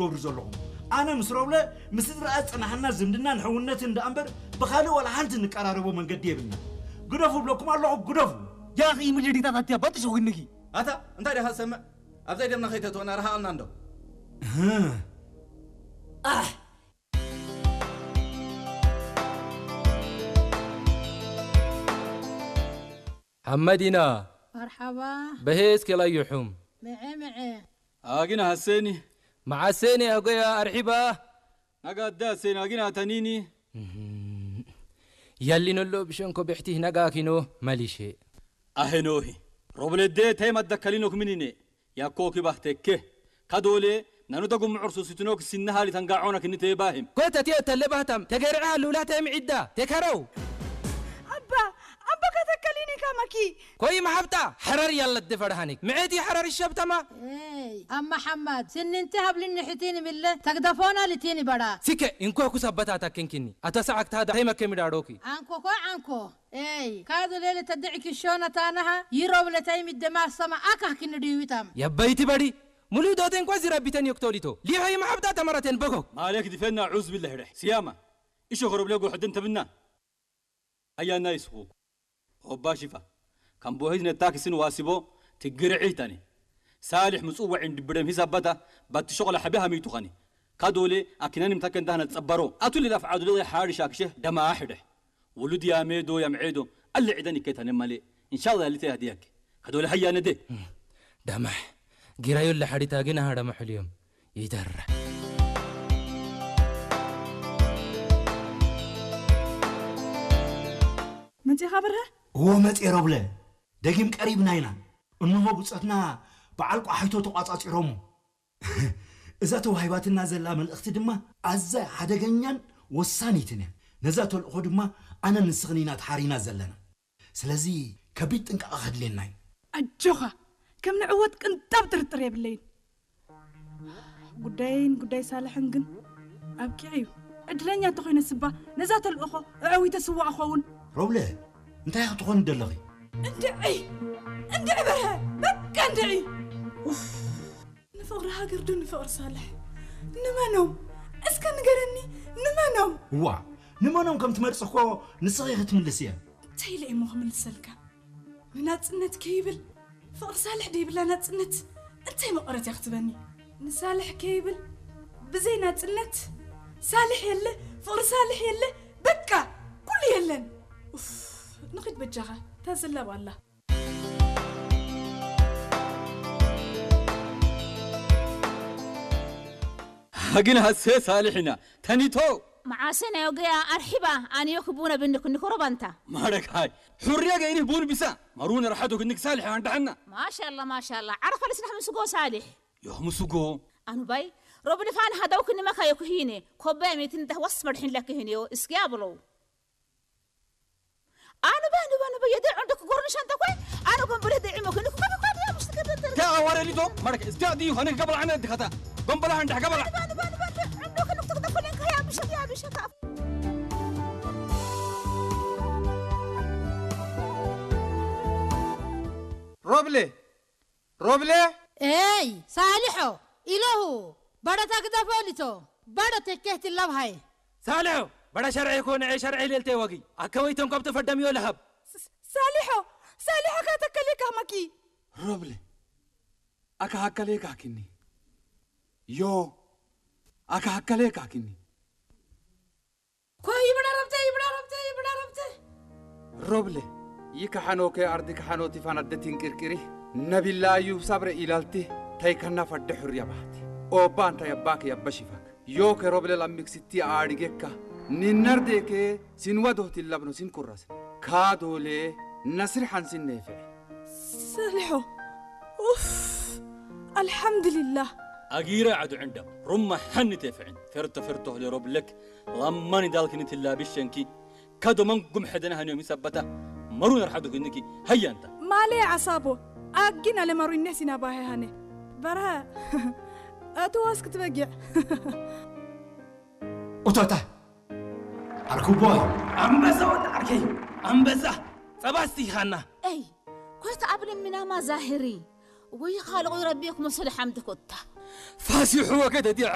ትገብሩ ዘለኹም። ኣነ ምስ ሮብለ ምስ ዝረኣ ዝጸናሕና ዝምድናን ሕውነትን ደኣ እምበር ብኻልእ ዋላ ሓንቲ እንቀራረቦ መንገዲ የብልና። ግደፉ እብለኩም ኣለኹ፣ ግደፉ። ያኺ ምልዲታት ኣትያ ባጥሽ ኹንኪ። ኣታ እንታይ ዲኻ ትሰምዕ? ኣብዘይ ደምና ከይተእትወና ረሃቐልና እንዶ። ኣሕ! ሓመዲና። መርሓባ። በሄስ ኬላዩሑም። ምዐ ምዐ። ኣግና ሐሴኒ። መዓሴኒ ኣጎያ ኣርሒባ። ናጋ ኣዳ ሐሴኒ ኣግና ተኒኒ። እህም። ያሊኖሎ ብሸንኮ ብሕቲ ናጋ ኪኖ መሊሼ። ኣሄኖሂ። ሮብለዴ ተይ ማዳ ከሊኖክ ምኒኔ። ያኮ ኪባህ ተኬ። ካዶሌ ናኑ ተጉምዑር ሱሲትኖክ ሲነሃሊ ተንጋዖና ክንቴ ባሂም። ኮተቴ ተለባህታም ተገርዐ ልውላተ ምዒዳ። ተካረው። ኣባ፣ ኣባ ከተከሊኒ ከመኪ። ኮይ መሓብጣ፣ ሐረር ያለት ድፈርሃኒክ። ምዒቲ ሐረር ይሸብተማ። ኤይ፣ ኣማ ሓማድ፣ ስንንቲ ሃብልኒ ሕቲኒ ምለ፣ ተግደፎና ልቲኒ በራ። ሲከ፣ እንኮ ኩስ ኣበታታ ክንኪኒ። ኣታ ሰዓክታ ዳ ተይመከ ሚዳዶኪ። ዓንኮ ኮ ዓንኮ። ኤይ፣ ካዱ ሌለ ተድዕኪ ሾና ታናሃ፣ ይሮብ ለታይ ሚደማ ሰማ ኣካህ ክንድዩ ይታም። የበይቲ በዲ፣ ሙሉ ዶቴን ኳ ዚረቢተን ዮክቶሊቶ። ሊሆይ መሓብጣ ተመረቴን በጎ። ማለክ ድፈና ዑዝ ቢላህ ርሕ። ሲያማ፣ እሾ ኸረብ ለጎ ሕድን ተብና። ኣያና ይስኹ። ኦባ ሽፋ። ከም ቦሄዝ ነታክስን ዋሲቦ ትግርዒ ይታኒ። ሳልሕ ምጽዋዒን ድብረም ሂሳባታ ባቲ ሾቕላ ሓቢ ሃሚቱ ኸኒ። ካዶሌ ኣኪናን ምታከን ዳህና ጸባሮ። ኣቱ ሊላፍ ዓዱ ለዘይ ሓሪ ሻክሸህ ደማ ኣሕደሕ። ውሉድ ያሜዶ ያምዔዶ ኣለ ዒደን ይከታነ ማሌ። ኢንሻላህ ያሊተ ያህድያክ። ካዶሌ ሃያ ነደ። ደማሕ። ጊራዩ ለሓዲታ ግን ኣሃ ደማሕ ልዮም። ይደረ። መጺኻ ብርሀ? እዎ መጺ ሮብለ። ደጊም ቀሪብና ኢና። እንሆ ብጾትና በዓል ቋሓይቶ ተቋጻጺሮሞ። እዛ ተዋሂባትና ዘላ መልእኽቲ ድማ ኣዝያ ሓደገኛን ወሳኒትን እያ። ነዛ ተልእኾ ድማ ኣነ ንስኽን ኢና ተሓሪና ዘለና። ስለዚ ከቢድ ጥንቃቐ ከድልየና እዩ። ኣጆኻ፣ ከም ንዕወት ቅንጣብ ጥርጥር የብለይን። ጉዳየይን ጉዳይ ሳልሕን ግን ኣብቂዑ እዩ። ዕድለኛ እንተኾይነ ስባ ነዛ ተልእኾ ኣዕዊተ ስዋ እኸውን። ሮብለ፣ እንታይ ክትኾኒ ደለኺ? እንድዒ! እንድዒ በርሀ! በቃ እንድዒ! ኡፍ! ንፍቕሪ ሃገር ዶ ንፍቕሪ ሳልሕ? ንመኖም? እስከ ንገረኒ፣ ንመኖም? እዋ፣ ንመኖም ከም ትመርጽ እኮ ንስኺ ክትምልስ እየ። እንታይ ኢለ እሞ ክምልሰልካ? ንናጽነት ከይብል ፍቕሪ ሳልሕ ደይብላ ናጽነት እንታይ መቐረት እያ ክትበኒ? ንሳልሕ ከይብል ብዘይ ናጽነት ሳልሕ የለ፣ ፍቕሪ ሳልሕ የለ፣ በቃ ኩሉ የለን። ኡፍ፣ ንኺድ በጃኻ፣ እታ ዘላብ ኣላ። ግን ሀሴ ሳልሕ ኢና ተኒቶ። መዓሰ ናይ ወገያ ኣርሒባ ኣንዮ ክቡነ ብንክ ንኮረባንታ። ማረካይ፣ ሑርያ ገይሪ ቡን ቢሳ፣ ማሩነ ረሓቶ ክንክ ሳልሕ ኣንዳሕና። ማሻላ፣ ማሻላ፣ ዓረፋ ልስራሕ ምስጎ ሳልሕ። ዮህ ምስጎ። ኣኑባይ፣ ሮብልፋን ሃደው ክንመካ የኩሂኔ፣ ኮባይ ሜትን ደህወስ መድሕን ለክህኔዮ፣ እስኪ ኣብለው። ኣኑባ፣ ኣኑባ፣ ኣኑባ፣ የደ ዑንዶ ክጎርንሽ ኣንተ ኮይ፣ ኣነ ጎንበለ ደዒሞ ክንክ ኮይ፣ ኮይ፣ ዲያ፣ ምሽ ትከተል። ታ ወረሊቶ፣ ማረክ፣ እስኪ ኣዲ ሆነ ገበል ዓነ ድኸታ። ጎንበለ ሃንዳ ገበል። ኣኑባ፣ ኣኑባ፣ ኣኑባ፣ ዑንዶ ክንክ ትክተል ኮይ፣ ከያ፣ ምሽ፣ ያ፣ ምሽ፣ ካ። ሮብሌ፣ ሮብለ? ኤይ፣ ሳልሖ፣ ኢለሁ፣ በረታ ግደፎ ሊቶ፣ በረ ተኬህቲ ለብሃይ። ሳልሖ፣ በረ ሸርዒ ኮነ፣ ኤ ሸርዒ ሌልቴ ወጊ። ኣከወይቶም ከብቶ ፈደምዮ ለሃብ። ስ-፣ ሳልሖ፣ ሳልሖ ካተከሌ ካህመኪ። ሮብለ፣ ኣካ ሃከሌ ካኪኒ። ዮ፣ ኣካ ሃከሌ ካኪኒ። ኮይ ይብዳ ረብተ፣ ይብዳ ረብተ፣ ይብዳ ረብተ። ሮብለ፣ ይከሓኖከ ኣርዲ ከሓኖ ቲፋን ኣደ ቲንቅርቅሪ፣ ነቢላ እዩ ሳብረ ኢላልቲ፣ ተይከና ፈደ ሑርያ ባህቲ። ኦባ እንታይ ኣባክ ያበሽፋክ። ዮከ ሮብለ ላሚክ ስቲ ኣሪጌካ፣ ኒነርዴከ ሲንዋ ዶህቲ ላብኖ ሲንኩራስ። ካዶሌ፣ ነስሪ ሓንሲን ነይፈ። ሰሊሖ፣ ኡፍ፣ ኣልሓምዱሊላህ። ኣጊረ ዓዱ ዕንዳ፣ ሩማ ሓኒ ተፍዕን፣ ፈርቶ ፈርቶ ህለ ሮብለክ፣ ላማኒ ዳልክኒ ትላቢ ሸንኪ፣ ካዶ መንጉም ሕደና ሃንዮ ሚሳበታ፣ መሩን ርሓዱ ክንኪ፣ ሃያ እንታ። ማሌ ዓሳቦ፣ ኣጊን ኣለ መሩን ነሲና ባሄ ሃነ። በርሀ፣ ኣቶ ዋስ ክትበጊዕ። ኡቶታ፣ ዓርኩቦይ። ኣንበሳ ወዲ ዓርከይ፣ ኣንበሳ፣ ጸባ እስቲ ሃና። ኤይ፣ ኮይታ ኣብ ልምናማ ዛህሪ፣ ወይ ኻልቑ ረቢኩም ሰደ ሓምድ ኮታ። ፋሲሑ ወገደ ዲዐ